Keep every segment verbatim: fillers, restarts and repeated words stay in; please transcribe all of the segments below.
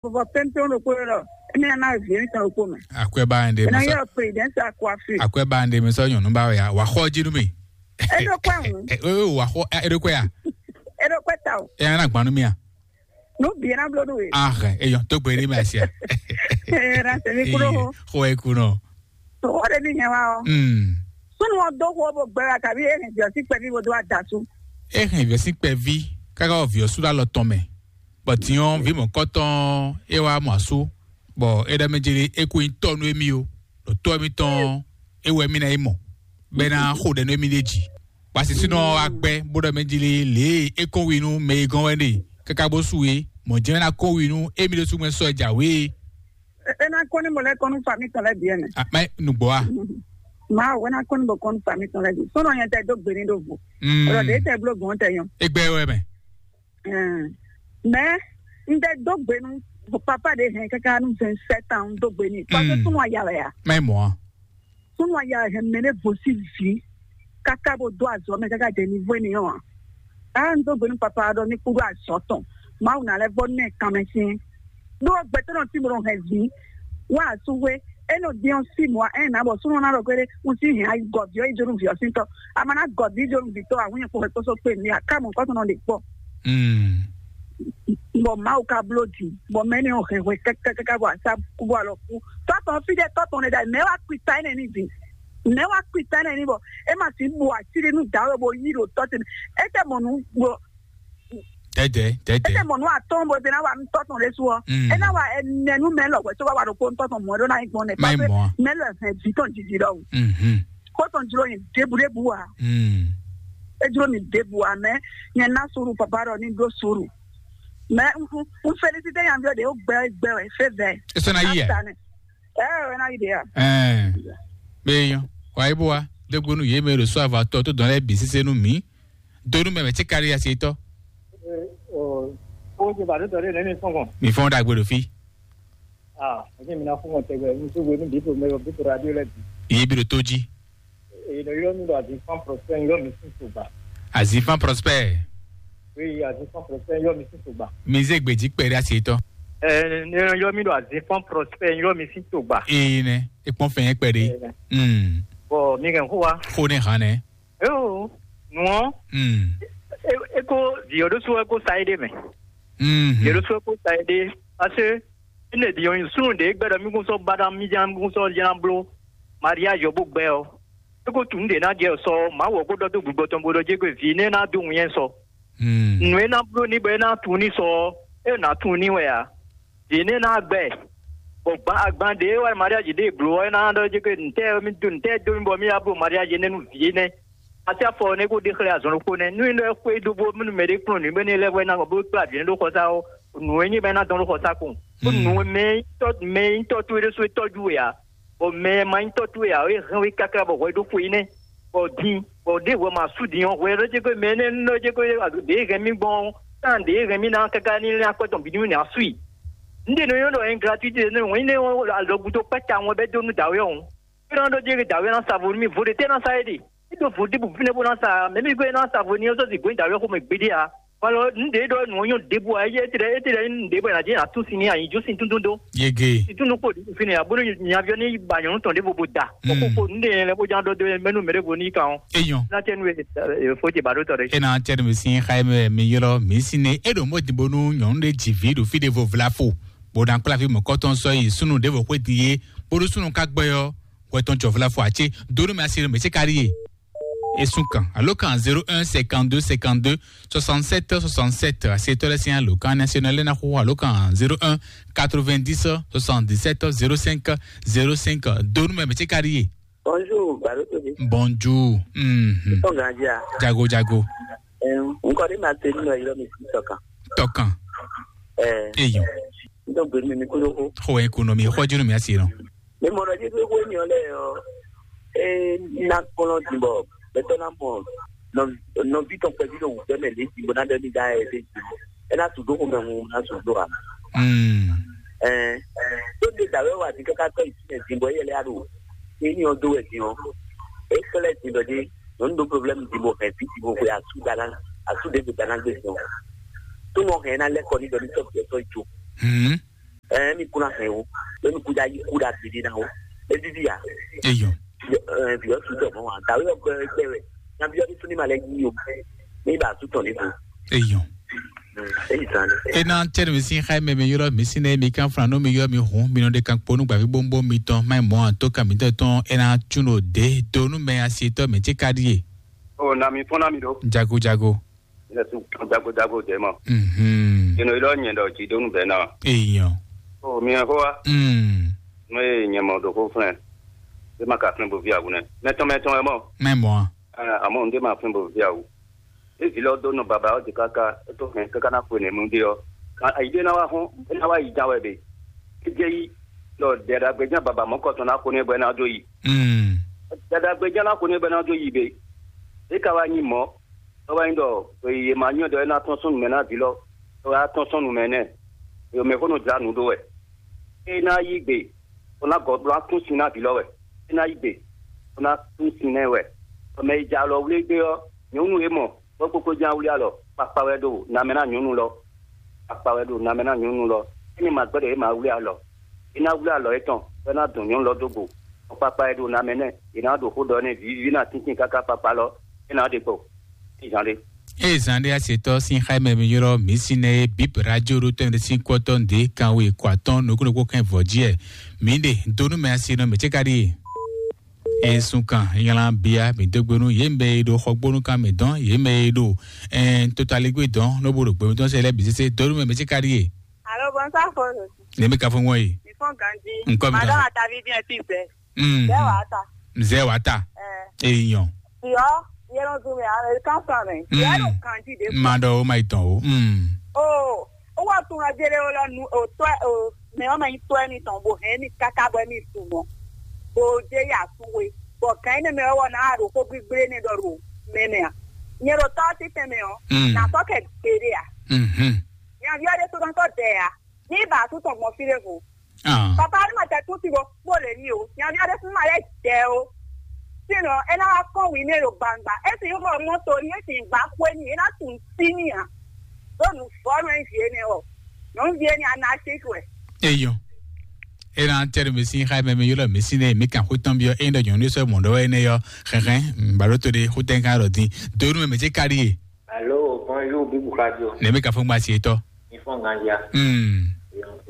Vɔvɔ pɛnpɛn ɖokpó ɖɔ, émi ná ná vǐ émi tɔn ɖokpó mɛ. Akwɛ́ ba ŋɖe mi sɔ́. Yɔ président sa kó afi. Akwɛ́ ba ŋɖe mi sɔ́ nyɔ̌nu ba wɛ ya. Wà xɔ jí nú mi. Eɖo kpɛ ŋu. Ɛ ɛ wà xɔ ɛ eɖo kpɛ ya. Eɖo kpɛ ta o. Ɛ ana gban nú mi a. Nu bǐ ná bló nú we. Ah, eyɔn tó gbé ní mi asi a. Ɛ na tẹ̀mí kúrò. Xɔ ẹ kú nɔ. Tɔwọ́ ɖe ní nyɛ wa ɔ. Hmm. Súnú ɔ dó xó bó gbɛ wa tàbí é hɛn jɔ̀sí kpɛví bó dó wa da sú. É hɛn vǐ ɔ́ sín kpɛví káká wɔ vǐ ɔ́ sú ɖó alɔ tɔn mɛ. Bɔ din ɔ́, vǐ mɔ̌kɔtɔn é wá mɔ asú, bɔ é ɖɔ mɛ jlé é kú nyí tɔ́ nú émí ó, ɖo tɔ́ émítɔn é wɛ mí ná yi mɔ, bɔ é ná xo ɖɛ nú émí ɖ'é jí. Bɔ asisúnɔ ɔ́ wá gbɛ́ bó ɖɔ mɛ jlé lě e é kɔn wi nú mɛ e gɔ́n wɛ ɖe káká bó su é, mɔ̌ jɛ́n é ná kɔn wi nú émí ɖésú mɛ sɔ́ jǎwe é. É ná kɔn ní mɔ lɛ́ kɔn nú fami tɔn lɛ́ bǐ ɛnɛ. Mɛ nǔgbó a? Mawu é ná kɔn ní bɔ kɔn nú fami tɔn lɛ́ bǐ. Sɔ́nɔ nyɛ tɛ dó gbe ní ɖo vo. Ɔlɔ ɖě tɛ bló gbɔn tɛ nyɔ. É gbɛ́ wɛ mɛ. Mɛ un tɛ dó gbe nú papa ɖě hɛn káká nú vingt-sept ans un dó gbe ní. Parce que súnmọ́ aya wɛ ya. Mɛ mɔ̌ a? Súnmọ́ aya wɛ hɛn mɛ ɖé vo sí vǐ káká bó dó azɔ̌ mɛ káká jɛ ní vó ní ɔ́ a. Á un dó gbe nú papa ɖɔ ní kúɖó azɔ̌ tɔn. Mawu ná lɛ́ vɔ nɛ kanmɛ sín. Ɖó gbɛtɔ́ nɔ tí mo nɔ hɛn vǐ wá asúhwé, é nɔ dín ɔ́ sí mɔ̌ ɛ nǎ bɔ súnmọ́ ná ɖɔ gbére un sí hɛn ayi gɔ̌ví ɔ́ yi jó nú vǐ ɔ́ sín tɔ́. A ma ná gɔ̌ví jó nú vǐ tɔ́ a hún nyɛ kpó hɛn kpóso kpé mi a ká mɔ kɔ́ tɔn nɔ ɖe kpɔ́. Bɔ Mawu ka bló jǐ, bɔ mɛ énɛ́ ɔ́ hɛn hwɛ kákákáká bɔ asá kú bɔ alɔ kú. Tɔ́ tɔn fí ɖé tɔ́ tɔn ɖé ɖ'ayǐ, mɛ̌ wá kpi ta énɛ́ n'i din? Mɛ̌ wá kpi ta énɛ́ n'i bɔ é ma sixú bu ací ɖé nú dǎwe bó yí ɖo tɔ́ ce mɛ? É tɛ mɔ nǔ bɔ Dɛdɛ, é dɛdɛ. Tɛ mɔ nǔ atɔ́ɔ́n bɔ é ná wa nú tɔ́ tɔn ɖésú ɔ́. Mm. É ná wa ɛnɛ nú mɛ lɔ wɛ tó wá wa ɖokpó nú tɔ́ tɔn mɔ̌ é ɖó ná nyí gbɔn nɛ́. Má nyí mɔ̌ a? Mɛ lɔ hɛn vǐ tɔn jiji ɖɔhun. Mhm. Kó tɔn jló nyi ɖěbǔɖěbǔ ǎ. Mm. É jló mì ɖěbǔ ǎ, mɛ nyɛ ná suru papa ɖɔ ní ɖó suru. Mɛ un un un félicité nyaví ɔ́ ɖě ó gbɛ gbɛ wɛ fé vɛ. É sɔ́ ná yí ɛ? Ɛ ɛ ná yí ɖě a? Ɛɛ. Bɛ yɔ. Wa yi bó wa. Dégbo nú yě mɛ ɖo sɔ́ avatɔ tó dɔn lɛ́ɛ bǐ sésé nú mǐ. Donu mɛ mɛ tí kárí asi tɔ. Ó ti bàtú tɔ̀lé nɛ́ ní fún kàn. Mi fɔn ɖagbe ɖo fí. Ah, ẹ̀jẹ̀ mi ná fún kàn tẹ̀gbẹ́ mi tó gbé ní bípo mẹ́rọ bípo radio lẹ́bi. Iye bi ɖo tó jí. Èyí lọ yọ mi lọ àti fan prospect yọ mi sí sògbà. Azi fan prospect. Oui, àti fan prospect yọ mi sí sògbà. Mi zé gbèjì pẹ̀lú asi tɔ. Ẹ ní yọ mi lọ àti fan prospect yọ mi sí sògbà. Ee nɛ, ekpɔn fɛn yẹn pẹ̀lú. Hmm. Bɔ mi kàn kó wa. Kó ne hàn nɛ. Eo, nua, Mm. E, e ko viyo ɖo so e ko sa ede mɛ. Mhm. Viyo ɖo so e ko sa ede. Parce que ne viyo yin sunu de gbɛdɔ mi kun sɔ bada mi jan mi kun sɔ jan blo. Mariage yo bo gbɛ o. E ko tun de na jɛ sɔ, ma wo ko dɔ to gbogbo tɔn bo dɔ je ko vi ne na do ŋun yɛn sɔ. Mm. Nu e na blo ni bɔ e na tun ni sɔ, e na tun ni wɛ a. Vǐ énɛ́ ná gbɛ, bɔ gban agban ɖě wɛ mariaji ɖě bló ɔ́, é ná ɖɔ jɛ ké ntɛ́ mi dó ntɛ́ dó mi bɔ mí wá bló mariaji énɛ́ nú vǐ énɛ́. Asi afɔ ɔ́ nɛ́ kó ɖe xlɛ́ azɔn ɖokpó nɛ́. Nú é nɔ xwé dó bó nú mɛ ɖé kplɔ́n nǔ bɔ énɛ́ lɛ́ vɔ é ná gbɔ bó kplá vǐ énɛ́ ɖó xɔsá ɔ́, nǔ e nyí bɔ é ná dɔn ɖó xɔsá kpɔ́n. Bó nǔ e mɛ nyí tɔ́ mɛ nyí tɔ́ towe ɖésú é tɔ́jú we ǎ, bɔ mɛ ma nyí tɔ́ towe ǎ, é hɛn we káká bɔ hwɛ ɖó xwe énɛ́. Bɔ din, bɔ ɖěvo ma sú din ɔ́, hwɛ ɖó jɛ ko mɛ énɛ́ nɔ jɛ ko ɖě hɛn mì gbɔn ɔ́, tán ɖě hɛn mì ná káká ní lɛ́n akwɛ́ tɔn bǐ ní nɛ́ asú i. Un ɖe nɔ nyɔ́ ɖɔ ɛn gratuité nɔ wɛn nɛ alɔgudo kpɛ́ta wọn bɛ dó nú dǎwe ɔ́. É nɔ ɖɔ jɛ dǎwe ná sa vo nú mì, vo ɖé tɛ́ ná sa é ɖe. É ɖo vo ɖěbǔ fínɛ́ bó ná sa, mɛ mì gbé ná sa vo ní ɔ́ sɔ́ zi gbɔn dǎwe xomɛ gbeɖé ǎ. Alɔ, un ɖe ɖɔ nǔ ɔ́ nyɔ́ ɖěbǔ ǎ, é tɛ́ é tɛ́ ɖɔ nǔ ɖěbǔ ǎ, ná jɛ ná tún sin ní anyi jó sin túndún dó. Yege. Sin túndún kpo ɖě fínɛ́ ǎ, bónú nyaví ɔ́ ní ba nyɔ̌nu tɔn ɖěvo bó da. Bɔ Mm. kókó un ɖe lɛ́ bó ján ɖɔ dó mɛnú mɛ ɖěvo ní kan ɔ́. Eyɔn. Ná tɛ́ nú e fó ce ba ɖó tɔ ɖé. E na tɛ mi sin xa mɛ mi ylɔ mi sin ne e ɖo mo di bonu nyɔnu ɖe dzi vi ɖo fi ɖe vo vla fo. Bo na kpla fi mɔkɔtɔn sɔ yi sunu ɖe vo xwe di ye. Bonu sunu ka gbɛ yɔ. Wɛ tɔn jɔ vla fo atse. Donu mi asi ɖo mi se kari ye. Esun kan. Alo kan zéro un cinquante-deux cinquante-deux soixante-sept soixante-sept. Asi tɔ lɛ sin alo kan national lɛ na xo alo kan zéro un quatre-vingt-dix soixante-dix-sept zéro cinq zéro cinq. Donu mi mi se kari ye. Bonjour, Balotobi. Bonjour. Mhm. Tɔn gandia. Jago, jago. Ɛm, nkɔ de ma te nínú ɛyɔ mi sí tɔkan. Tɔkan. Ɛ. Eyɔn. N tó gbé mi mi kúrò kó. Xɔ ɛ kú nɔ mi, xɔ jínú mi asi nɔ. Mi mɔ lɔ dzi pé wé mi ɔ lɛ ɔ. E na kplɔn dìbò. Bɛtɔ na mɔ nɔ nɔvi tɔn pɛvi ɖo wù bɛ mɛ lé dìbò na dɔ mi da ɛ lé dìbò. E na tu do xɔmɛ ŋu na tu do a. Mm. Ɛ. Tó de dàwé wa di kaka tɔ ìsinmi dìbò yɛ lɛ alo. Eni ɔ dó wɛ din ɔ, é xlɛ́ din ɖɔ ɖé nyɔ̌nu ɖó problème din bɔ hɛn vǐ din bó xwe asú ɖana asú ɖěvo ɖana gbé din ɔ. Tó nɔ hɛn ná lɛ́ kɔ ní ɖɔ ní tɔ́ bǐ ɔ́ tɔ́ yi jó. Hmm. Ikuna hɛn o, lónìí kúdà yí kúdà gbèdé náà o. Ebi bíyà. Eyɔ. Bíyà sùtọ̀ mọ́ wa, dàwé ọgbẹ́ ẹgbẹ́ rẹ̀, na bíyà bí súnmí malẹ̀ yí o. Ní ibà sùtọ̀ níbo. Eyɔ. Èyí sàn. Ena tɛri mi sin xayi mɛ mi yɔrɔ mi sin ne mi kan flan nɔ mi yɔ mi hun mi nɔ de kan kponu gbavi bombo mi tɔn mai mɔ an to kan mi tɛ tɔn ena tun o de donu mɛ asi tɔ mɛ tse ka di ye. O na mi fɔn na mi ɖo. Jago jago. Yɛsu jagojago dɛ mɔ. Mhm. Eno ilɔ nyɛ ɖɔ dzi ɖo nu bɛ na. Eyɔ. O mi hɛn xó wa. Mm. Mo ye nyɛ mɔ ɖo xó flɛn. E ma ka flɛn bo vi awu nɛ. Mɛtɔn mɛtɔn wɛ mɔ. Mɛ mɔ. Amɔ n de ma flɛn bo vi awu. E vi lɔ do nɔ baba ɔ de kaka e to hɛn kaka na xwe nɛ mu de ɔ. Ayi de na wa hɔn e na wa yi jan wɛ be. E jɛ yi lɔ dɛ ɖagbe jan baba mɔ kɔtɔn na xo nɛ bɔ e na do yi. Mm. Dɛ ɖagbe jan na xo nɛ bɔ e na do yi be. E ka wa nyi mɔ. Tɔ́ wɛ nyí ɖɔ è ma nyɔ́ ɖɔ é ná tɔ́n sɔ́ nǔ mɛ ná vǐ lɔ, é wá tɔ́n sɔ́ nǔ mɛ nɛ́, è mɛ xó nɔ jlá nǔ ɖó wɛ. É ná yí gbe, bó ná gɔ̌ bó ná tún sin ná vǐ lɔ wɛ. É ná yí gbe, bó ná tún sin nɛ́ wɛ. Bɔ mɛ e ja alɔ wlí gbé ɔ́, nyɔ̌nu e mɔ bó kpókpó ján wlí alɔ, kpakpa wɛ ɖo namɛ ná nyɔ̌nu lɔ. Kpakpa wɛ ɖo namɛ ná nyɔ̌nu lɔ. Énɛ́ ma gbɛ́ ɖɔ é ma wlí alɔ. É ná wlí alɔ étɔn, bɔ é ná dɔn nyɔ̌nu lɔ dó go. Kpakpa e ɖo namɛ nɛ́, è nǎ ɖo xó ɖɔ nɛ́ vǐví ná tíntín káká kpakpa lɔ, é ná ɖe kpo. Ní zǎn ɖé. Eye zǎn ɖé asetɔ sín xá mɛ mi ylɔ́ mǐ sín nɛ́ é bǐ radio ɖó tɛn ɖé sín kɔ́tɔ́ nǔɖé kanwe kɔ atɔ́ɔ́n nukúnnukún kɛn vɔ̌ jí ɛ. Mǐ ɖe dó nú mɛ asi nɔ mǐ cé ka ɖíe. E sun kan nylá bia mǐ dó gbe nú yě mɛ e ɖo xɔgbónú kan mǐ dɔn yě mɛ e ɖo ɛn totaligbé dɔn ló bó ɖo gbɛmɛ tɔn sɛ lɛ́ bǐ sésé dó nú mɛ mǐ cé ka ɖíe. Alo, bonsoir, Fɔnɔ. Ne mi ka fɔ ŋɔ ye. Mi fɔ ganji. Nkɔ mi Madame ka. Atavi bien ti zɛ. Mm. Zɛ wa ta. Zɛ wa ta. Eh. Eyan. Yɔ, yɛ lɔ dun mi a, e kan fa mɛ. Mm. Yɛ lɔ ganji de. Ma dɔ o ma itɔn o. Mm. O, o wa tun ajele o lɔ nu o tɔ o mɛ o mɛ yi tɔ mi tɔn bo hɛn mi kaka bɔ mi su mɔ. Bo je ya su we. Bɔ kan ne mɛ o na ro ko gbigble ne dɔ ro mɛ mɛ a. Nyɛ ro tɔ ti tɛ mɛ o. Mm. Na sɔ kɛ gbede a. Mhm. Nyaviɔ ɖé sɔ́ tɔn tɔ dɛ a. Ní bǎ tún tɔn gbɔn fí ɖěvo. Ah. Papa ní ma tɛ tún ti bo kpó lě ní o. Nyaví aɖé fún ma lɛ́ jɛ o. Sínɔ é ná wá kɔn wǐ ní e ɖo gbangba. É sì nyí xɔ mɔto ní, é sì nyí gbá xwé ní, é ná tunwun sí ní ǎ. Ɖó nǔ vɔ́ nú é vǐ énɛ́ ɔ. Nyɔ̌nuví énɛ́ a ná sí wɛ. Eyɔ. Ena tɛri mi sin xa mɛ mi yɔlɔ mi sin ne mi kan xó tɔn biɔ eyin ɖɔ nyɔnu sɔ mɔ ɖɔ wɛ ne yɔ xɛxɛ baɖo to de xó tɛn kan ɖɔ din do nu mɛ mɛ ce ka ɖi ye. Alo, bonjour, Bibou Radio. Ne mi ka fɔ gba si etɔ. Mi fɔ gandia. Hmm.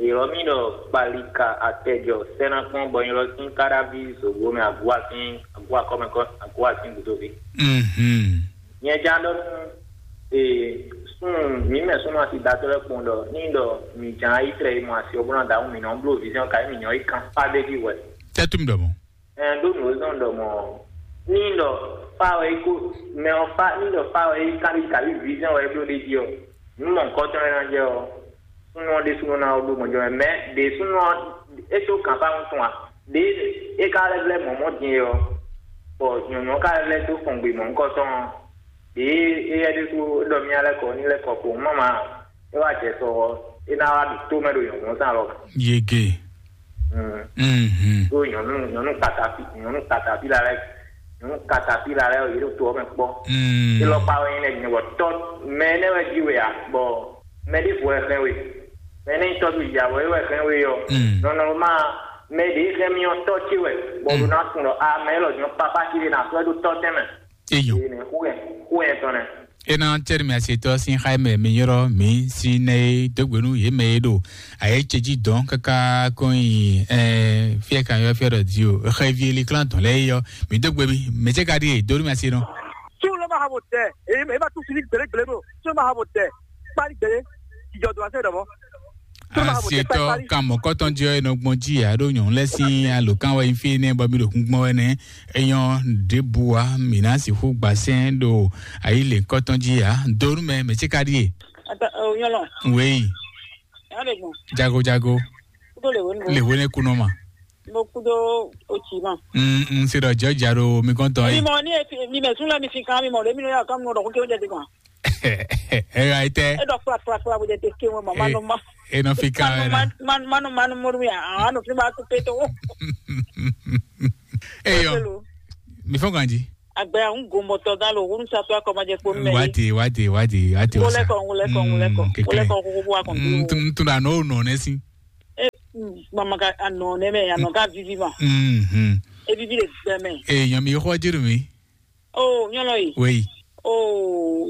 Èrò mi ɖɔ kpalika atɛjɔ sɛnakpɔn bɔ nyɔlɔ sín káɖáví zògbó mɛ agua sín agua kɔmɛ kɔ agua sín gudovi. Mhm. Nyɛ ja ɖɔ nu ee sun mi mɛ sunu asi datɔ lɛ kpɔn ɖɔ ni ɖɔ mi jan ayi trɛ yi mɔ asi ɔbɔ na da mi nɔ blo vision ka mi nyɔ yi kan pa de di wɛ. Tɛtum ɖɔ mɔ. Ɛn ɖo nǔ e zɔn ɖɔ mɔ ní ɖɔ fa wɛ yi ko mɛ ɔ fa ní ɖɔ fa wɛ yi kabi kabi vision wɛ bló ɖe jí ɔ nú mɔ nukɔntɔn e ná jɛ ɔ súnú ɔ ɖésúnú ná ɔ ɖó mɔjɔ mɛ mɛ ɖě súnú ɔ é tó kàn fá ŋutɔn a ɖě é ká lɛ́ vlɛ́ mɔ̌ mɔ̌ din é ɔ bɔ nyɔ̌nyɔ́ ká lɛ́ vlɛ́ dó fɔn gbe mɔ̌ nukɔntɔn ɔ ɖě éyɛ́ ɖésú é ɖɔ mía lɛ́ kɔ ní lɛ́ kɔ kpowun mama é wá jɛ sɔ ɔ é ná wá ɖo tó mɛ ɖo nyɔ̌nyɔ́ zán lɔ. Yege. Mm. Mhm. Ɖó nyɔnu nyɔnu katapi nyɔnu katapi la lɛ nyɔnu katapi la lɛ yɛ ɖo to ɔmɛ kpɔ. Mm. Ilɔkpa wɛ nyɛ nyɛ wɔ tɔ mɛ ne wɛ ji wɛ a bɔ mɛ ɖe vo wɛ xɛn we mɛ ne tɔ do ya wɛ wɛ xɛn we yɔ. Mm. Nɔnɔ ma mɛ ɖe xɛn mi ɔ tɔ ci wɛ bɔ ɖo na kun lɔ a mɛ lɔ nyɔ papa ci de na sɔ do tɔ tɛmɛ. Eyɔ. Ene xu yɛ xu yɛ tɔn nɛ. Ena tɛri mi asetɔ sin xa mɛ mi yɔrɔ mi si nɛ e dogbe nu ye mɛ e ɖo aye ce ji dɔn kaka kɔn yi ɛ fiɛ kan yɔ fiɛ dɔ di o xɛ vi eli klan tɔn lɛ yɔ mi dogbe mi mɛ ce ka di e donu mi ase nɔ. Tí o lọ máa ha bò tẹ èyí ẹ bá tún sí ní gbèrègbèrè bò tí o máa ha bò tẹ pálí gbèrè ìjọ dùn àṣẹ ìdọ̀bọ. Asietɔ kan mɔkɔtɔn jɛ ɔ enɔ gbɔn ji ya ɖo nyɔnu lɛ sin alo kan wɛ nyi fi nɛ bɔ mi ɖo kun gbɔn wɛ nɛ enyɔ ɖebu wa mi na si hu gbasɛn ɖo ayi le kɔtɔn ji ya donu mɛ mɛ tsika ɖie. Ata o nyɔlɔ. Wei. Yàrá de gbɔn. Jago jago. Kudo le wo ni. Le wo ne kunɔ ma. Mo kudo o tsi ma. Mm mm se dɔ jɔ ja ɖo mi kɔntɔn ye. Mi mɔ ni e mi mɛ sun la mi fi kan mi mɔ le mi nɔ ya kan mi nɔ dɔ ko ke o jɛ de gbɔn. Ɛ ɛ tɛ. E dɔ kpla kpla kpla bo de te ke ŋɔ ma ma nɔ ma. E nɔ fi kan wɛ na. Ma nɔ ma nɔ mɔri mi a a nɔ fi ma ko pe to. Eyɔ. Mi fɔ ganji. Agbe ahun gomɔtɔ galo wonu satɔ akɔmajɛ kpo mɛ. Wati wati wati wati wasa. Ngolɛkɔ ngolɛkɔ ngolɛkɔ ngolɛkɔ koko bu akɔn. Ntun ntun na n'o nɔ ne si. Mama ka anɔ nɛ mɛ, anɔ ka vivi ma. Mhm. E vivi le gbɛ mɛ. Èèyàn mi xɔ jírù mi. O nyɔlɔ yi. Wéyí. O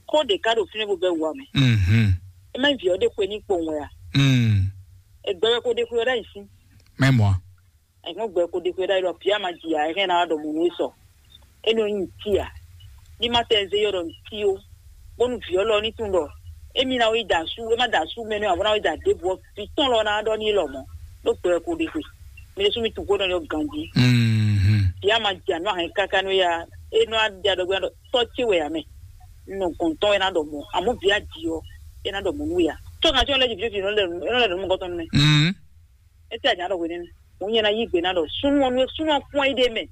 kó de ka ɖo fínɛ́ bó bɛ wà mɛ. Mhm. E ma vi ɔ́ ɖe xwe ní kpowun wɛ a? Mm. Egbɛ wɛ kó ɖe xwe ɔ́ ɖ'ayǐ sí. Mɛ mɔ. Ẹ̀gbọ́n gbɛ kó ɖe xwe ɖ'ayǐ ɖɔ bia ma jì yà ẹ̀hɛn ná ɖɔ mò nú sɔ. Énɛ́ ɔ́ nyí ntí a? Ní má tɛ zé yɔ́ ɖɔ ntí ó, bónú vǐ ɔ́ lɔ ní tunwun ɖɔ émí ná wá yi da asú, é má da asú mɛ nú ǎ, bó ná wá yi da ɖěbǔ ɔ́, vǐ tɔn lɔ ná ɖɔ n'i lɔmɔ̌, ɖó gbɛ wɛ ko ɖe xwe. Mi ɖésú mi tunwun xó nɔ nyɔ́ ganjí. Mhm. Vǐ a ma jɛ anú ahɛn káká nú éya, é nɔ wá ɖe aɖɔgbé ná ɖɔ tɔ́ ce wɛ ǎ mɛ. Un nɔ gɔn tɔn wɛ ná ɖɔ mɔ̌, amɔ̌ vǐ a ji ɔ́, é ná ɖɔ mɔ̌ nú we ǎ. Tó kan tí wọ́n lɛ́ jì fífí nɔ lɛ nɔ lɛ nǔ mɔgɔ́ tɔn nɛ́. Mhm. Etí a nya ɖɔ hwenɛ́. Mo nyɛ na yí gbe ná ɖɔ súnú ɔ́ nú é súnú ɔ́ kpɔ́n é ɖe mɛ.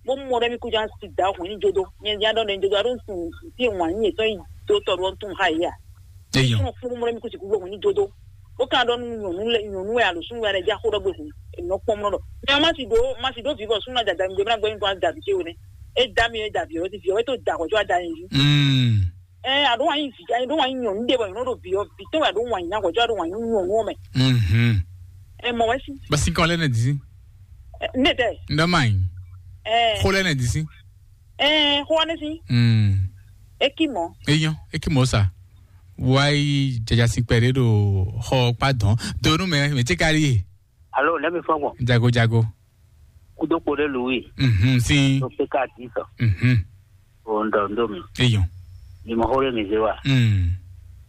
Bó mɔ ɖɔ émí kú já si da hwɛ̌n ní jódó. Nyɛ já ɖɔ nɛ jódó aɖó sun tí wǎn nyí yětɔn yi dó tɔ ɖó tún ha yě a. Eyɔn. Súnú kpɔ́n mɔ ɖɔ émí kú si kú hwɛ̌n ní jódó. Bó ka ɖɔ nú nyɔ̌nu lɛ nyɔ̌nu wɛ alo súnú wɛ lɛ já xó ɖɔ gbé hwɛ̌n. Nɔ kpɔ́n mɔ ɖɔ. Mɛ ma si ɖó ma si ɖó vǐvɔ súnú na dada mi gbé bó ná gbé mi kó ná da vǐ cé hwenɛ́. É da mi é da vǐ ɔ́ ti vǐ ɔ́ é tó da hwɛ̌ có wá da nyi jí. Mm. Ɛ aɖó wǎn nyi vi aɖó wǎn nyi nyɔ̌nu ɖé bɔ nyɔ̌nu ɖo vi ɔ́ vi tɔn wɛ aɖó wǎn nyi nya hwɛ̌ aɖó wǎn nyi nyɔ̌nu ɔ́ mɛ. Mhm. Ɛ mɔ wɛ si. Basi kɔ lɛ ne disi. Ɛ, ne tɛ. Ndɔ ma yi. Ɛ. Xo lɛ ne disi. Ɛ xo wa ne si. Mm. Eki mɔ. Eyɔn, eki mɔ sa. Wa yi jaja si kpɛ ɖe ɖo xɔ kpa dɔn. Donu mɛ mɛ tse ka ɖi. Alo, ne mi fɔ gbɔn. Jago jago. Kudo kpo ɖe lu wi. Mhm, si. To pe ka di sɔ. Mhm. O ŋdɔ ŋdo mi. Eyɔn. Mi mɔ xó ɖé mi zé wa. Mm.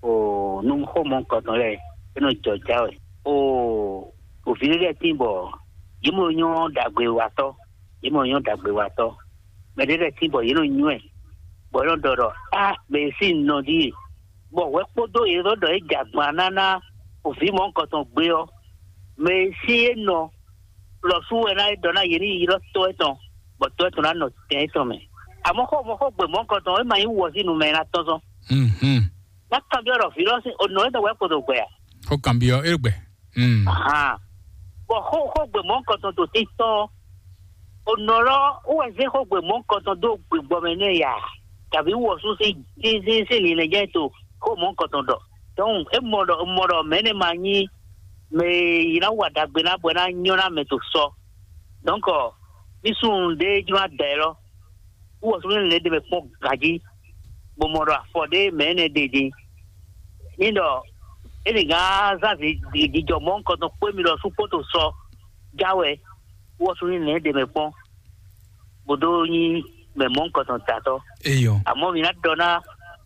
O nu xó mɔ kɔtɔn lɛ, e nɔ jɔ ja wɛ. O o vi ɖé lɛ tin bɔ yě mɔ nyɔ ɖagbe watɔ, yě mɔ nyɔ ɖagbe watɔ. Mɛ ɖé lɛ tin bɔ yě nɔ nywɛ, bɔ yě nɔ ɖɔ ɖɔ a mɛ e sín nɔ ɖíe, bɔ hwɛ kpódó yě nɔ ɖɔ é jɛ agban ná ná o vi mɔ kɔtɔn gbé ɔ́, mɛ e sín é nɔ lɔ sú wɛ ná é ɖɔ ná yě ní yi ylɔ́ tɔ́ étɔn, bɔ tɔ́ étɔn ná nɔ tɛn étɔn mɛ. Àmọ́ xó mɔ xó gbè mɔ̌hunkɔtɔn é ma nyí wɔ sín nu mɛ ná tɔ́n zɔn. Mhm. Ná kanbyɔ́ ɖɔ vǐ lɔ sín onɔ étɔn wɛ kpo ɖo gbɛ a? Xó kanbyɔ́ é ɖo gbɛ. Mm. Ahan. Bɔ xó xó gbè mɔ̌hunkɔtɔn ɖo títɔn ɔ́, onɔ lɔ wɛ zé xó gbè mɔ̌hunkɔtɔn dó gbigbɔ mɛ nú ɛ ya, tàbí wɔ sú sín sín sín sín linlɛn jɛ to xó mɔ̌hunkɔtɔn ɖɔ. Donc é mɔ ɖɔ mɔ ɖɔ mɛ énɛ́ ma nyí mɛ e yi ná wa ɖagbe ná bɔ é ná nyɔ́ ná mɛ to sɔ. Donc mí súnnu ɖé jló ná da ɛ lɔ. Wú wɔ súnnu lɛ́ɛ ɖe mɛ kpɔ́n ganjí, bó mɔ ɖɔ afɔ ɖé mɛ énɛ́ ɖe din. Ní ɖɔ é nǐ gán zán jijɔ mɔ̌hunkɔtɔn kpé mi ɖɔ sú kpóto sɔ já wɛ. Wú wɔ súnnu lɛ́ɛ ɖe mɛ kpɔ́n, bó dó nyí mɛ mɔ̌hunkɔtɔn tatɔ́. Eyɔ. Àmọ́ mi ná ɖɔ ná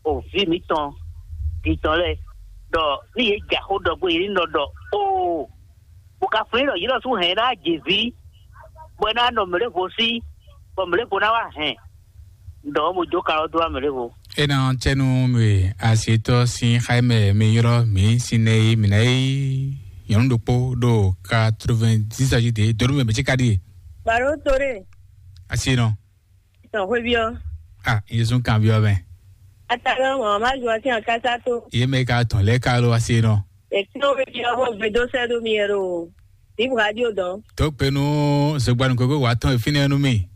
òví mǐtɔn dintɔn lɛ́ɛ ɖɔ ní yě jɛ xó ɖɔ gbé yě ní nɔ ɖɔ óo, bó ka flín ɖɔ yě lɔ sú hɛn ná jě ví, bɔ é ná nɔ mɛ̌ɖévo sí, bɔ mɛ̌ɖévo ná wá hɛn ɖɔ mo jó ka ɔ́ dó wá mɛ̌ɖévo. É ná cɛ́nú mi asietɔ sín xá mɛ mi ylɔ́ mǐ sín nɛ e mǐ ná yí nyɔ̌nu ɖokpó ɖo quatre-vingt-dix agi de donu mɛ mɛ cí ka ɖíe. Baro tore. Asi nɔ. Tɔn xwé biɔ. Ah, Yesu kan biɔ mɛ. Atagán mɔ má ju ati an kasa to. Ye mɛ ka tɔn lɛ ka lo asi nɔ. Ètò mi biɔ bó gbedó sẹ́dó mi yẹn o. Bíbu radio dɔn. Tó penu zogbanu koko wa tɔn ìfínɛ nu mi.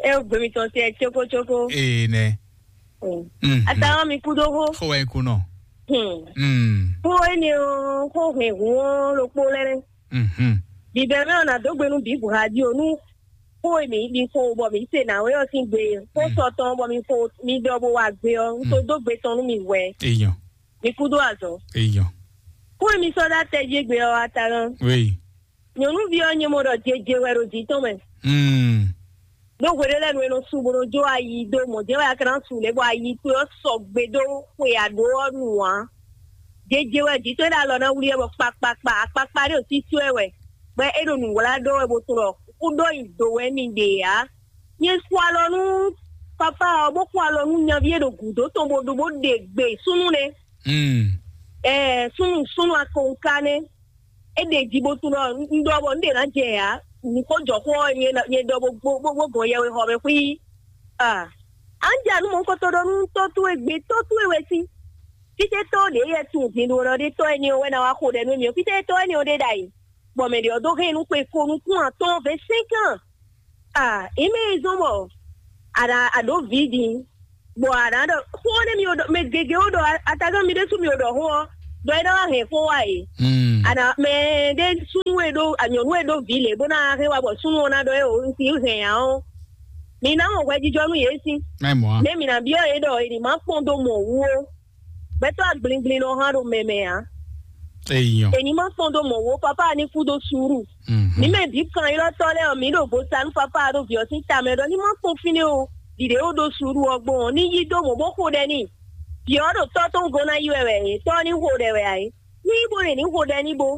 E o gbemi tɔn tiɛ tsoko tsoko. Ee nɛ. Mm. Atagán mi kú dó hó. Xó wɛ kú nɔ. Hmm. Mm. Kó ene o, kó hɛn hun o, lo kpó lɛ nɛ. Mhm. Bibɛ mɛ ɔna dó gbenu bíbu radio nu. Xó e mǐ ɖi xo bɔ mǐ se nǎwe ɔ́ sín gbe, xó sɔ tɔn bɔ mi xo mi ɖɔ bó wa gbe ɔ́, un ko dó gbe tɔn nú mi hwɛ. Eyɔn. Mi kúdó azɔ̌. Eyɔn. Xó e mi sɔ́ ɖó atɛ jí gbe ɔ́, Atalán. Oui. Nyɔ̌nuví ɔ́ nyɛ mɔ ɖɔ jeje wɛ ɖo jǐ tɔn mɛ. Mm. Ɖó hweɖé lɛ́ɛ nu e nɔ su bó nɔ jó ayi dó mɔ̌ jɛ́n wɛ a ka ná su lě bɔ ayi towe ɔ́ sɔgbe dó xwe aɖǒ ɔ́ nu ǎ. Jeje wɛ jǐ towe ɖo alɔ ná wlí ɛ bɔ kpakpakpa akpakpa ɖé ɖo sísú ɛ wɛ, bɔ é ɖo nǔwlá ɖɔ wɛ bó tunɔ kú ɖó nyi do wɛ mi ɖe ǎ. Nyɛ xo alɔ nú papa ɔ́, bó xo alɔ nú nyaví e ɖo gǔdo tɔn bó ɖo bó ɖe gbe súnnu nɛ́. Mm. Ɛɛ súnnu súnnu akɔnká nɛ́. É ɖe jí bó tunɔ un ɖɔ bɔ un ɖe ná jɛ ǎ. Nǔ ko jɔ xó ɔ́ nyɛ ɖɔ bó bó bó gɔn yɛwe xɔ mɛ xwí. Ah. An ja nu mɔ kɔtɔ ɖɔ nu tɔ towe gbe tɔ towe wɛ si. Fite tɔ ɖe yɛ tun din ɖo ɖɔ ɖe tɔ ɛni wɛ na wa xo ɖɛ nu mi fite tɔ ɛni ɖe ɖa yi. Bɔ mɛ ɖe ɔ do hɛn nu xwe ko nukun atɔn vɛ cinq ans. Ah, ime zɔn bɔ ana aɖo vi din. Bɔ ana ɖɔ xo ne mi ɖɔ mɛ gege wo ɖɔ atagan mi ɖe su mi ɖɔ xo ɔ. Dɔ e na wa hɛn xo wa yi. Mm. Ana mɛ ɖe su e ɖó anyɔ̌nu e ɖó vǐ lě bó ná hɛn wá bɔ súnnu ɔ́ ná ɖɔ é o, un si hɛn ǎ ɔ́, mi ná mɔ hwɛjijɔ nú yě sín. Mɛ mɔ̌ a? Nɛ̌ mi ná byɔ́ yě ɖɔ è nǐ má kpɔ́n dó mɔ wú ó? Gbɛtɔ́ agblingblin nɔ hán ɖo mɛ mɛ ǎ. Eyɔn. È ní má kpɔ́n dó mɔ wú ó, papá ní kú dó suúru. Mhm. Ní mɛ bǐ kan ylɔ́tɔ́ lɛ́ɛ ɔ́, mǐ ɖo vo sa nú papá ɖo vǐ ɔ́ sín tamɛ ɖɔ ní má kpɔ́n fínɛ́ o. Ɖiɖě ó ɖó suúru ɔ́ gbɔn ɔ́, ní yí dó mɔ̌ bó xo ɖɛ n'i. Vǐ ɔ́ ɖo tɔ́ tɔn gɔ́ ná yi wɛ wɛ é, tɔ́ ɔ́ ní xo ɖɛ wɛ ǎ é. Ní bo ɖe ní xo ɖɛ ní bo.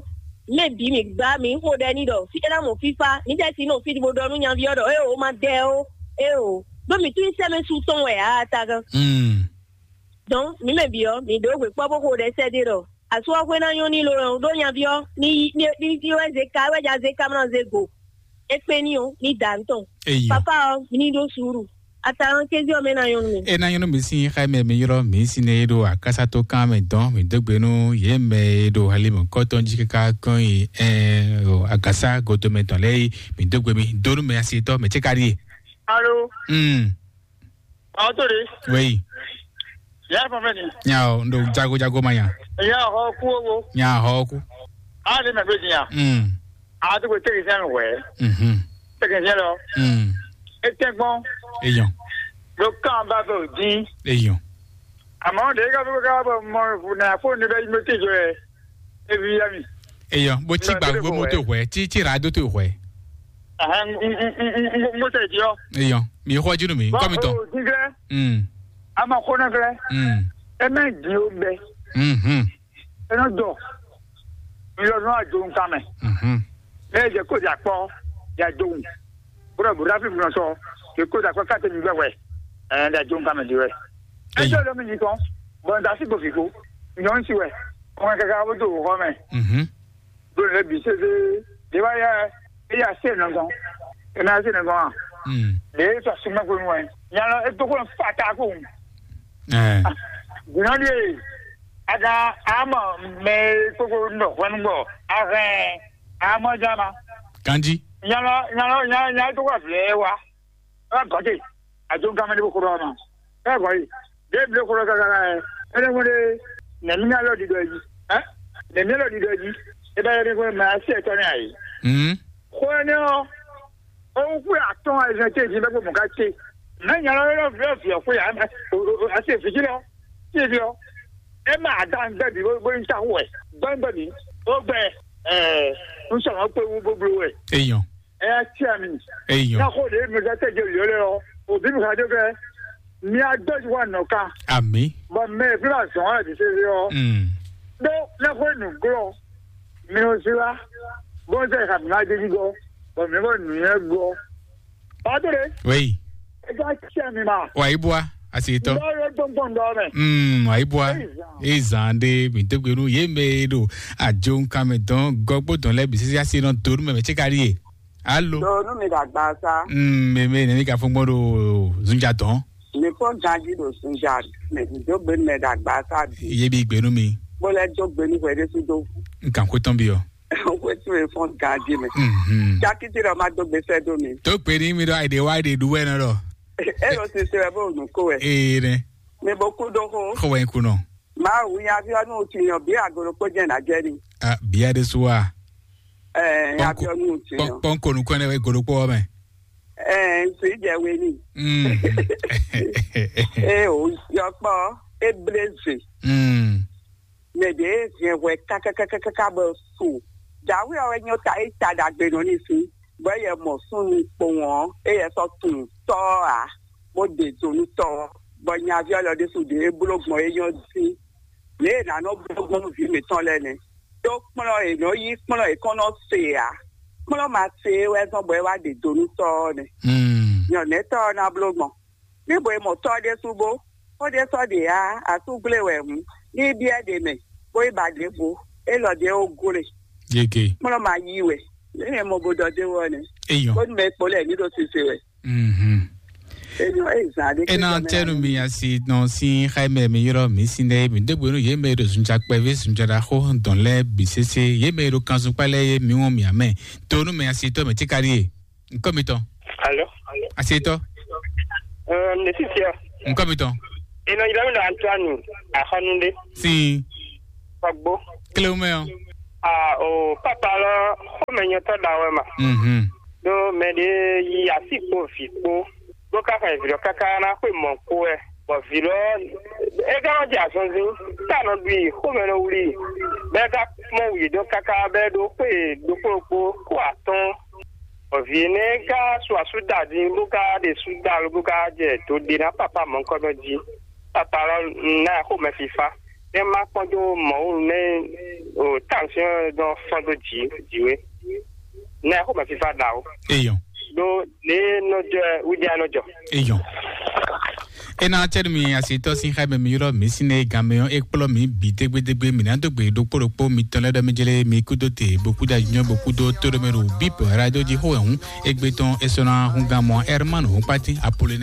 Mɛ bǐ mǐ gbá mǐ xo ɖɛ ní ɖɔ fí é ná mɔ fífá, mǐ jɛ si nɔ fí bo ɖɔ nú nyaví ɔ́ ɖɔ éeǒ ma dɛ ó, éeǒ. Ɖó mǐ tún nyí sɛ́mɛ su tɔn wɛ ǎ tagán. Mm. Donc mǐ mɛ bǐ ɔ́, mǐ ɖó gbe kpɔ́ bó xo ɖɛ sɛ́ ɖé ɖɔ asú ɔ́ xwé ná nyɔ́ ní lo ɔ́, ɖó nyaví ɔ́ ní ní ní wɛ zé ka wɛ ja zé ka mlá zé go. É kpé ní ɔ́ ní dǎ ntɔn. Eyɔ. Papa ɔ́ ní ɖó suúru. Atalɔn kézí ɔ́ mɛ ná nyɔ́ nú mi. E ná nyɔ́ nú mi sín xá mɛ mi ylɔ́ mi sín é ɖo akásátó kan mɛ dɔn mi dó gbe nú yě mɛ e ɖo halimo kɔ́tɔn jí káká kɔn yi ɛ o agasa goto mɛ tɔn lɛ yi mi dó gbe mi dó nú mɛ asi tɔ mɛ tse ka ɖi. Alo. Hmm. Awo to de. Wei. Ya fɔ fɛ ni. Nya o ndo jago jago ma nya. Ya hɔ ku owo. Nya hɔ ku. A de mɛ gbe dinya. Hmm. A to ko technicien wɛ. Mhm. Technicien lɔ. Hmm. E tɛ gbɔn. Eyɔn. Lo kan ba bɛ o din. Eyɔn. Àmọ́ de ka fẹ́ ká bɔ mɔ fu na fo ne bɛ mo te jɔ yɛ. E vi ya mi. Eyɔn bó tí Nɔ, gbà dédé gbó fún mọ́tò wẹ̀. Hwẹ́ tí tí ra dó tó hwẹ́. Ahan mo tɛ di ɔ. Eyɔn mi xɔ jínú mi nkọ́ mi tɔ. O din fɛ. Hmm. A ma xɔ na fɛ. Hmm. E mɛ di o bɛ. Mhm. E nɔ dɔ. Mi lɔ nɔ a jo nkan mɛ. Mhm. Ne e jɛ ko di akpɔ ya jo ŋu. Bro bro afi mi nɔ sɔ. Ke ko di akpɔ kate mi gbɛ wɛ. Ɛ da jo nkan mɛ di wɛ. E Eyɔn. Jo lɔ mi nyi kɔn. Bɔn da si gbo fi ko. Nyɔ n si wɛ. Kɔn kaka bo do xɔ mɛ. Mhm. Ɖo lě bǐ sésé ɖě wá yá é yá sé nɔ gɔn. É ná sé nɔ gɔn a? Mm. Lě é sɔ súnmọ́ kó nu wɛ. Nya lɔ é dó kó nɔ fa ta kó. Ɛ. Gùnà ɖíe a ka a mɔ mɛ kókó nɔ hwɛnu gbɔ a hɛn a mɔ jama. Kanji. Nya lɔ nya lɔ nya nya é dó kó vlɛ wá. Ɔ́ gɔ̌ te, àjogúnkanmɛ ɖé bó xó ɖɔ ɔ́ nɔ. Ɛ gɔ̌ yi, ɖěbǔ ɖé xó ɖɔ káká ɛ, é nɛ́ hwɛ́n ɖé nɛ̌mí alɔ ɖiɖɔ jí, ɛ? Nɛ̌mí alɔ ɖiɖɔ jí, é bá yɔ ɖé hwɛ́n mɛ así ɛtɔ́ nɛ́ ayǐ. Hmm. Xó énɛ́ ɔ́, ó wú xwé atɔ́ɔ́n ayizɛ́n ce jí bɛ́ kpó mɔ̌ ká ce. Mɛ̌ nya lɔ élɔ́ vǐ ɔ́ vǐ ɔ́ xwé ǎ, mɛ, así vǐ jí lɔ, sí vǐ ɔ́, é mɛ adan gbɛ́ bǐ bó nyí táxu wɛ, gbɛ́ gbɛ́ bǐ, ó gbɛ, ɛɛ, un sɔmɔ kpé wú bó bló wɛ. Eyɔn. Ɛ ya cia mi. Eyɔn. N'a xo ɖe mi ka tɛ jɛ yɔ lɛ ɔ, o bi mi ka jɔ kɛ, mi a dɔ ju wa nɔ ka. Ami. Bɔn mɛ fi la zɔn wa di se yɔ. Mm. Ɖo n'a xo nu glɔ, mi o si la, bɔn sɛ ka mi ma jɛ ji gɔ, bɔn mi bɔ nu yɛ gɔ. Ba to de. Wei. E ka cia mi ma. Wa yi bua, asi tɔ. Ndɔ yɔ gbɔngbɔn dɔ mɛ. Mm, wa yi bua. Eyi zan. Ezan de mi degbe nu ye me do ajo nkan me dɔn gɔgbo dɔn lɛ bisisi asi nɔ do nu mɛ mɛ tse ka di ye. Alo. Ɖo nu mi ɖagba sa. Mm, meme ne mi ka fún gbɔn ɖo zunja tɔn. Mi fɔ ganji ɖo zunja mɛ mi do gbenu mɛ ɖagba sa bi. Ye bi gbenu mi. Bó lɛ do gbenu hwɛ ɖe su do. N kan ko tɔn bi ɔ. Wetu e fɔ ganji mɛ. Mhm. Jakiti ɖɔ ma do gbesɛ do mi. To gbe ni mi ɖɔ ayi de wa ayi de du wɛ nɔ ɖɔ. E ɖo sise wɛ bó nu ko wɛ. Ee ne. Mi bo ku do ko. Ko wɛ ku nɔ. Mawu nyaviɔnu tinyɔ bi agolo kpo jɛ na jɛ ni. Ah, bia de su wa. Ɛɛ nyaviɔnu tinyɔ. Pɔnkɔ nukɔn ne wɛ golo kpɔ mɛ. Ɛɛ nsi jɛ we ni. Mm. Ee o yɔkpɔ ebleze. Mm. Mɛ de hɛn hwɛ kakakakaka bɔ su. Jawe ɔwɛ nyɔ ta e ta dagbe nɔ ni si. Bɔ eyɛ mɔ súnnu kpowun ɔ́, eyɛ sɔ́ tunwun tɔ́ ɔ́ ǎ, bó ɖe zo nú tɔ́ ɔ́, bɔ nyaví ɔ́ lɔ ɖésú ɖě é bló gbɔn é nyɔ́ dín. Lě e è nǎ nɔ bló gbɔn nú vǐ mǐtɔn lɛ́ɛ nɛ́. Ɖó kplɔ́n è nɔ́ yí kplɔ́n è kɔn nɔ se ǎ. Kplɔ́n ma se é wɛ zɔ́n bɔ é wá ɖe do nú tɔ́ ɔ́ nɛ́. Hmm. Nyɔ̌nɛ́tɔ́ ɔ́ ná bló gbɔn. Ní bo e mɔ tɔ́ ɖésú bó, xó ɖé sɔ́ ɖě ǎ, asú gblé wɛ hǔn, ní í byɔ́ ɖě mɛ, bó yi ba ɖěvo, élɔ́ ɖě ó glé. Yege. Kplɔ́n ma yí wɛ, lě e mɔ bo ɖɔ d'é wɔ nɛ́. Eyɔn. Bónú mɛ kpo lɛ́ɛ ní ɖo sise wɛ. Mhm. Eyɔn, é zǎn ɖé. Ena tɛnu mi asi nɔ si xaimɛ mi yrɔ mi si nɛ mi dégbe nu yé mɛ ɖo zunjakpɛvi zunjadaxo dɔn lɛ bi sese yé mɛ ɖo kanzunpa lɛ yé mi wɔn mi amɛ. Tonu mɛ asi tɔ mɛ tikari ye. Nkɔ mi tɔ. Alo. Asi tɔ. Ɛɛ, ne sisi ɔ. Nkɔ mi tɔ. Ena yira mi na Antoine Ahɔnunde. Si. Pagbo. Kile wo mɛ ɔ. Ah, o papa lɔ xɔmɛ Nyɔtɔ́ ɖa wɛ ma. Mhm. Ɖó mɛ ɖé yi asi kpo vǐ kpo, bó ka xɛ vǐ lɔ káká ná xwé mɔ̌ kpo wɛ. Bɔ vǐ lɔ é ka nɔ jɛ azɔnzin, tá nɔ ɖu i, xomɛ nɔ wlí i. Bɔ é ka mɔ wǔyé dɔn káká bɔ é ɖó xwé ɖokpó ɖokpó kó atɔ́ɔ́n. Bɔ vǐ énɛ́ ka su asú da din, bó ka ɖe sú da lo, bó ka jɛ do ɖe ná papa mɔ̌hunkɔtɔn jí. Papa lɔ ná xomɛ fífá. Nɛ má kpɔ́n dó Mawu nɛ o, tansiɔn dɔn fɔ́n dó jǐ jǐ wé. Nɛ xomɛ fífá ɖa o. Eyɔn. Ɖó lě nɔ jɔ wíjá nɔ jɔ. Eyɔn. Ena cɛɖu mi asitɔ sin xɛ mɛ mi ylɔ mi sin ne gan mɛ ɔn e kplɔ mi bi dégbédégbé mi na dó gbe ɖokpó ɖokpó mi tɔn lɛ ɖɔ mi jele mi kúdó te bo kúdó anyɔ bo kúdó tóɖomɛ ɖo bip radio ji xó ɛhún egbe tɔn esɔna hun gan mɔ Herman hun kpati apollo